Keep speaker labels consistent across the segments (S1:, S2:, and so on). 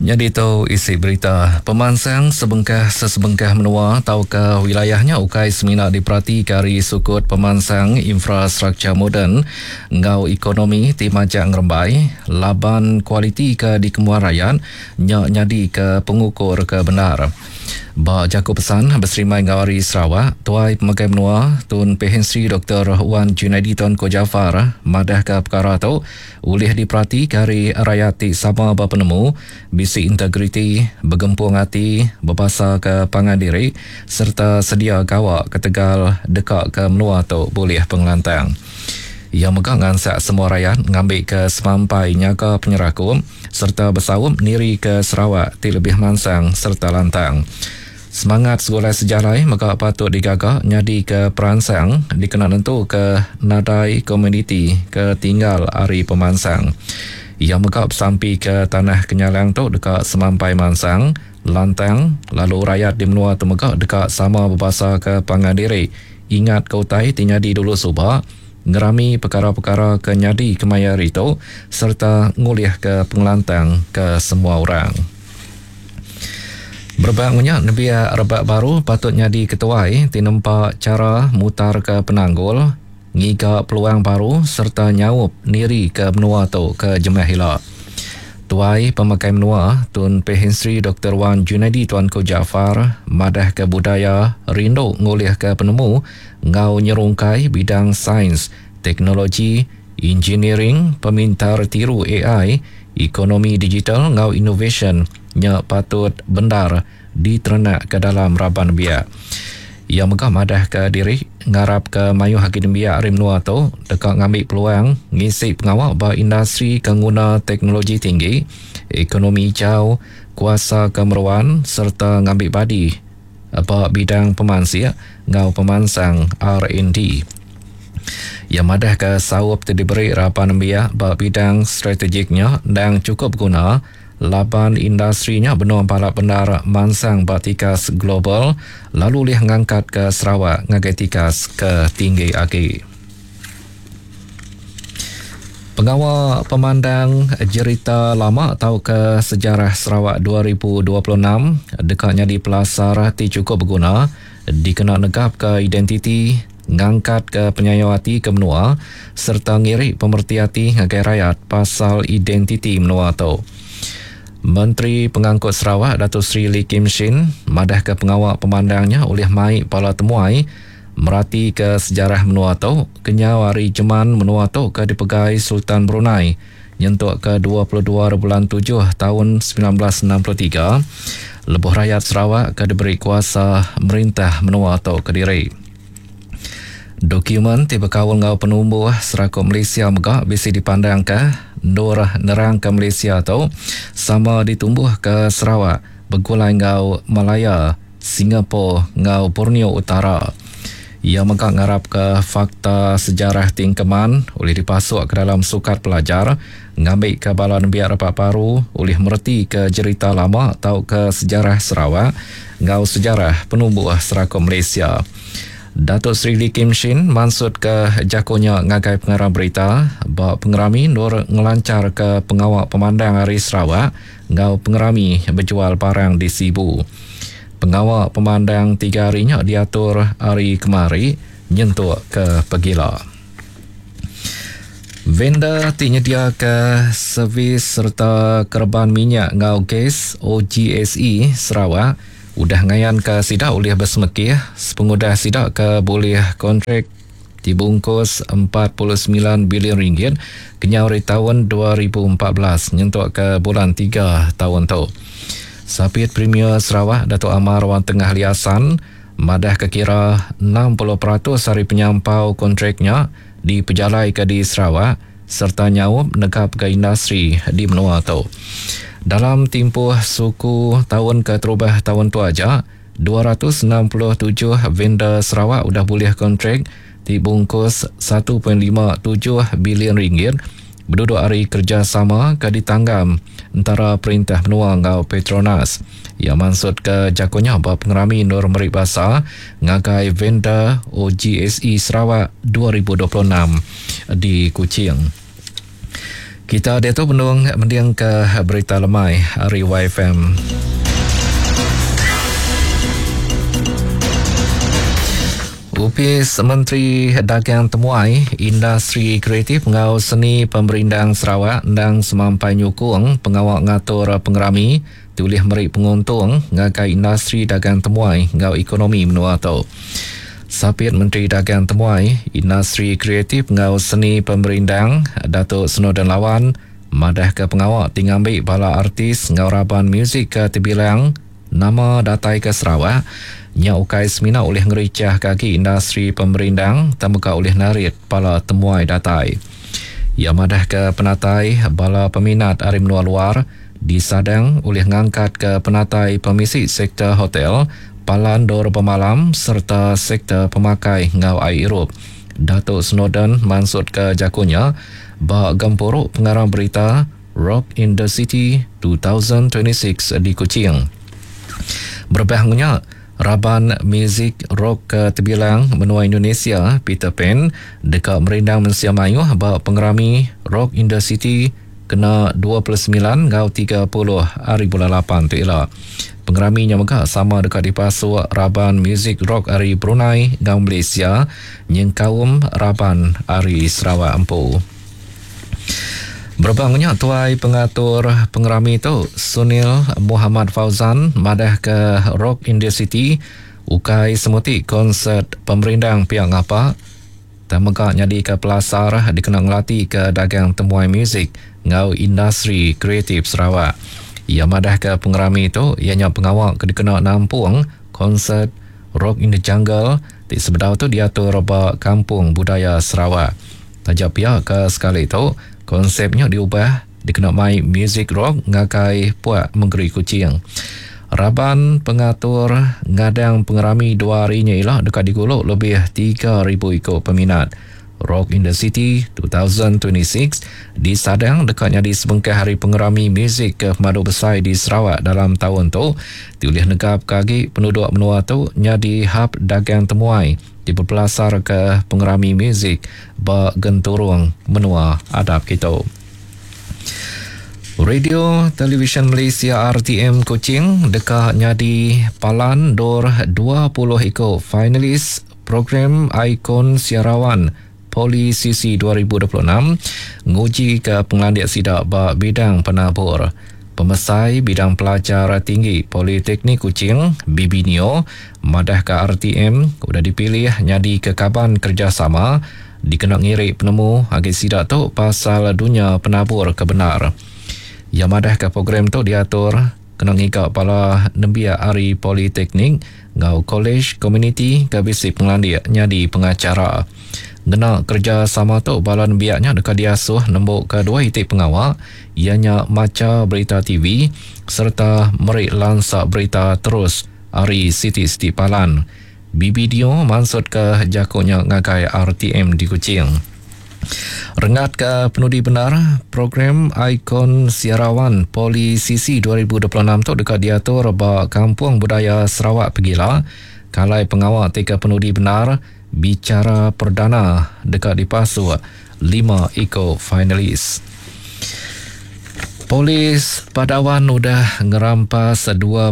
S1: Nyadi tu isi berita, pemansang sebengkah sesebengkah menua tauka wilayah nya ukai semina diperatika ari sukut pemansang infrastruktur moden enggau ekonomi ti majak ngerembai laban kualiti ke dikembuan rayat nya nyadika pengukur ke bendar. Ba jaku pesan beserimbai enggau Hari Sarawak, Tuai Pemegai Menua Tun Pehin Sri Doktor Wan Junaidi Tuanku Jaafar madahka pekara tu ulih diperatika ari rayat ti sama bepenemu, bisi integriti, begempung ati, bebasaka pangan diri sereta sedia gawa ketegal deka ke menua tu bulih pengelantang. Iya mega ngansak semua rayat ngambika semampai nyaga penyerakup sereta besaup nirika Sarawak ti lebih mansang sereta lantang. Semangat segulai sejalai mega patut digaga nyadika peransang dikena nentuka nadai komuniti ke tinggal ari pemansang. Iya mega besampika Tanah Kenyalang tu deka semampai mansang, lantang lalu rayat di menua tu mega deka sama bebasaka pangan diri Ingatka utai ti nyadi dulu suba, ngerami pekara-pekara ke nyadi kemaya hari tu sereta ngulihka pengelantang ke semua orang. Berebak enggau nya, nembiak rebak baru patut nyadi ketuai ti nempa chara mutarka penanggul, ngiga peluang baru sereta nyaup nirika menua tu ke jemah ila. Tuai Pemakai Menua, Tun Pehin Sri Doktor Wan Junaidi Tuanku Jaafar madahka budaya rindu ngulihka penemu enggau nyerungkai bidang sains, teknologi, injiniring, pemintar tiru ai, ekonomi digital enggau inovasyen nya patut bendar diterenakka dalam raban nembiak. Iya mega madahka diri ngarapka mayuh agi nembiak ari menua tu deka ngambi peluang ngisi pengawa ba industri ke nguna teknologi tinggi, ekonomi ijau, kuasa ke meruan sereta ngambi badi ba bidang pemansik enggau pemansang R&D. Iya madahka saup ti diberi raban nembiak ba bidang strategik nya endang chukup beguna Laban industri nya benung balat bendar mansang ba tikas global lalu ulih ngangkatka Sarawak ngagai tikas ke tinggi agi. Pengawa pemandang jerita lama tauka sejarah Sarawak 2026 deka nyadi pelasar ti chukup beguna dikena negapka identiti, ngangkatka penyayau ati ke menua sereta ngiri pemereti ati ngagai rayat pasal identiti menua tu. Menteri Pengangkut Sarawak Dato Sri Lee Kim Shin madahka pengawa pemandang nya ulih mai bala temuai meratika sejarah menua tu kenyau ari jeman menua tu ke dipegai Sultan Brunei nyentuk ke 22 bulan tujuh taun 1963 lebuh rayat Sarawak ke diberi kuasa merintah menua tu kediri. Dokumen ti bekaul enggau penumbuh Serakup Malaysia mega bisi dipandangka endur nerangka Malaysia tu sama ditumbuhka Sarawak begulai enggau Malaya, Singapore enggau Borneo Utara. Iya mega ngarapka fakta sejarah ti engkeman ulih dipasuk ke dalam sukat pelajar ngambika bala nembiak rebak baru ulih meretika jerita lama tauka sejarah Sarawak enggau sejarah penumbuh Serakup Malaysia. Datuk Seri Lee Kim Shin mansutka jaku nya ngagai pengarang berita ba pengerami endur ngelancharka pengawa pemandang Hari Sarawak enggau pengerami bejual barang di Sibu. Pengawa pemandang tiga hari nya diatur hari kemari nyentuk ke pegila. Vendor ti nyediaka servis sereta kereban minyak enggau gas OGSE Sarawak udah ngayanka sida ulih besemekih sepengudah sida ke bulih kontrak ti bungkus 49 bilion ringgit kenyau ari taun 2014 nyentuk ke bulan tiga taun tu. Sapit Premier Sarawak Datuk Amar Wan Tengah Ali Hassan madahka kira 60% ari penyampau kontrak nya dipejalaika di Sarawak sereta nyaup negapka industri di menua tu. Dalam timpuh suku taun keterubah taun tu aja, 267 vendor Sarawak udah bulih kontrak ti bungkus 1.57 bilion ringgit beduduk ari kerejasama ke ditanggam entara perintah menua enggau Petronas. Iya mansutka jaku nya ba pengerami endur meri basa ngagai vendor OGSE Sarawak 2026 di Kuching. Kita diatu benung mendingka berita lemai ari YFM. Opis Menteri Dagang Temuai, Industri Kreatif enggau Seni Pemerindang Sarawak endang semampai nyukung pengawa ngatur pengerami ti ulih meri penguntung ngagai industri dagang temuai enggau ekonomi menua tu. Sapit Menteri Dagang Temuai, Industri Kreatif enggau Seni Pemerindang, Datuk Snowdan Lawan madahka pengawa ti ngambi bala artis enggau raban muzik ke tebilang nama datai ke Sarawak nya ukai semina ulih ngerichahka agi industri pemerindang tang mega ulih narit bala temuai datai. Iya madahka penatai bala peminat ari menua luar disadang ulih ngangkatka penatai pemisi sektor hotel, palan endur bemalam sereta sektor pemakai enggau ai irup. Datuk Snowdan mansutka jaku nya ba gempuru pengarang berita Rock in the City 2026 di Kuching. Berebah enggau nya, raban muzik rock ke tebilang menua Indonesia, Peter Pan, deka merindang mensia mayuh ba pengerami Rock in the City kena 29 enggau 30 hari bulan lapan tu ila. Pengerami nya mega sama deka dipasuk raban muzik rock ari Brunei enggau Malaysia nyengkaum raban ari Sarawak empu. Berebak nya tuai pengatur pengerami tu Sunil Muhammad Fauzan madahka Rock in the City ukai semuti konsert pemerindang pia ngapa tang mega nyadika pelasar dikena ngelatika dagang temuai muzik enggau industri kreatif Sarawak. Iya madahka pengerami tu iya nya pengawa ke dikena nampung konsert Rock in the Jungle ti sebedau tu diatur ba Kampung Budaya Sarawak. Taja pia ke sekali tu, konsep nya diubah dikena mai muzik rock ngagai puak mengeri Kuching. Raban pengatur ngadang pengerami dua hari nya ila deka digulu lebih 3,000 iku peminat. Rock in the City 2026 disadang deka nyadi sebengkah hari pengerami muzik ke pemadu besai di Sarawak dalam taun tu ti ulih negapka agi penuduk menua tu nyadi hab dagang temuai ti bepelasarka pengerami muzik ba genturung menua adap kitu. Radio Televisyen Malaysia RTM Kuching deka nyadi palan endur 20 iku finalis program Ikon Siarawan Poli CC 2026 ngujika pengelandik sida ba bidang penabur. Pemesai Bidang Pelajar Tinggi Politeknik Kuching, Bibi Neo, madahka RTM udah dipilih nyadika kaban kerejasama dikena ngiri penemu agi sida tu pasal dunya penabur ke bendar. Iya madahka program tu diatur kena ngiga bala nembiak ari politeknik enggau kolej komuniti ke bisi pengelandik nyadi pengacara. Ngena kerejasama tu bala nembiak nya deka diasuh nembuka dua iti pengawa iya nya macha berita TV sereta meri lansa berita terus ari siti-siti palan. BBDO mansutka jaku nya ngagai RTM di Kuching. Rengat ke penudi bendar, program Ikon Siarawan Poli CC 2026 tu deka diatur ba Kampung Budaya Sarawak pegila, kalai pengawa ti ke penudi bendar bichara perdana deka dipasuk lima iku finalis. Polis Padawan udah ngerampas 25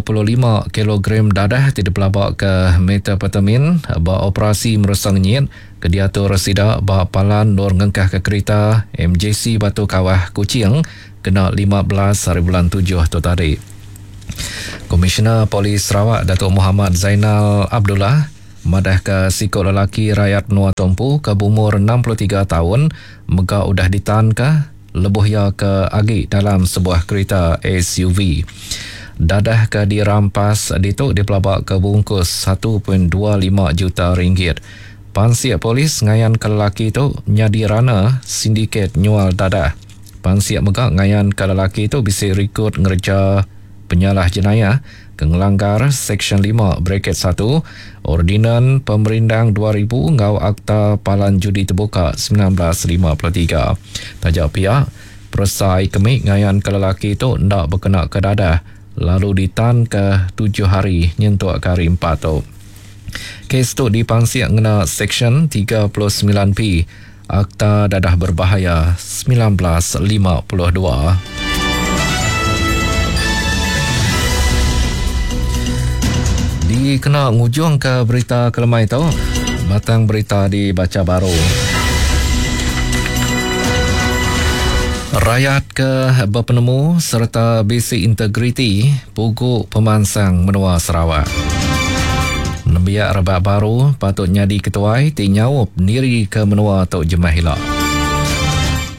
S1: kilogram dadah ti dipelabaka methamphetamine ba operasi meresa ngenyit ke diatur sida ba Palan Endur Ngengkahka Kerita MJC Batu Kawah, Kuching kena 15 hari bulan tujuh tu tadi. Komisioner Polis Sarawak Datuk Mohamad Zainal Abdullah madahka siku lelaki rayat menua tu empu ke beumur 63 taun mega udah ditanka lebuh iya ke agi dalam sebuah kerita SUV. Dadah ke dirampas ditu dipelabaka bungkus 1.25 juta ringgit. Pansik polis ngayanka lelaki tu nyadi runner sindiket nyual dadah. Pansik mega ngayanka lelaki tu bisi rikod ngereja penyalah jenayah ke ngelanggar Seksyen lima braket satu Ordinan Pemerindang 2000 enggau Akta Palan Judi Tebuka 1953. Taja pia, peresa ai kemi ngayanka lelaki tu enda bekenaka dadah lalu ditanka tujuh hari nyentuk ke hari Empat tu. Kes tu dipansik ngena Seksyen 39B. Akta Dadah Berbahaya 1952. Dikena ngujungka berita kelemai tu, batang berita dibacha baru. Rayat ke bepenemu sereta bisi integriti pugu pemansang menua Sarawak. Nembiak rebak baru patut nyadi ketuai ti nyaup nirika menua tu jemah ila.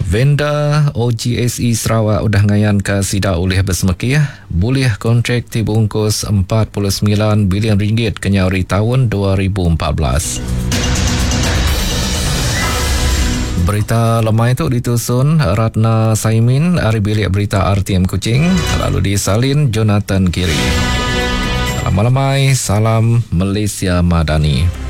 S1: Vendor OGSE Sarawak udah ngayanka sida ulih besemekih bulih kontrak ti beungkus 49 bilion ringgit kenyau ari taun 2014. Berita lemai tu ditusun Ratna Saimin ari Bilik Berita RTM Kuching lalu disalin Jonathan Kiri. Salam lemai, salam Malaysia Madani.